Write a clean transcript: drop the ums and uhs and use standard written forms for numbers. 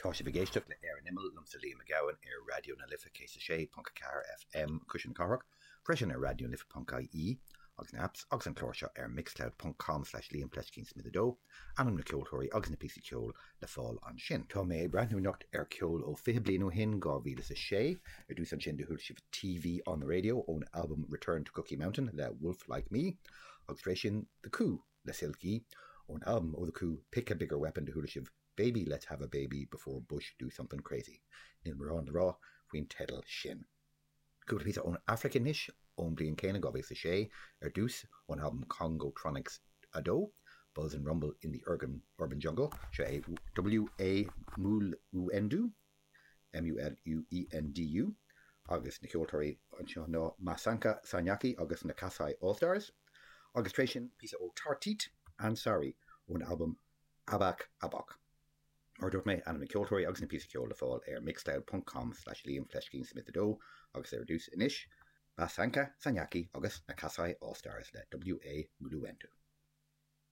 Tá sibh ag éisteacht le Ar an Imeall, liomsa Liam Mac Gabhann ar Raidió na Life 106.4 FM, Cuisle na Cathrach, freisin ar raidionalife.ie agus na apps agus an clár seo ar mixcloud.com slash liamfleiscínsmith2, ainm na ceoltóirí agus na píosaí ceoil le fáil ansin. Tá mé ag breathnú anocht ar ceol ó 20 bliain ó shin, 2006. Ar dtús ansin do chuala sibh TV on the Radio ón albam Return to Cookie Mountain le Wolf Like Me agus tar éis sin The Coup le Silk-E ón albam ó The Coup Pick a Bigger Weapon do chuala sibh Baby Let's Have a Baby Before Bush Do Something Crazy. Níl mórán le rá faoin teideal sin. Cúpla píosa ón Afraic anois, ón bliain céanna, 2006, ar dtús, ón albam Congotronics 2, Buzz and Rumble in the Urban Jungle. Seo é W.A. Muluendu, M-U-L-U-E-N-D-U, agus na ceoltóirí anseo ná Masanka Sanyaki agus na Kasai All Stars. Agus tar éis sin, píosa ó Tartit Ansari ón albam Abak Abok. Mar a dúirt mé, ainm na ceoltóirí agus na píosaí ceoil le fáil ar mixcloud ponc com slash liamfleiscínsmith2 agus ar dtús anois, Masanka Sanyaki agus na Kasai All Stars le W.A. Muluendu.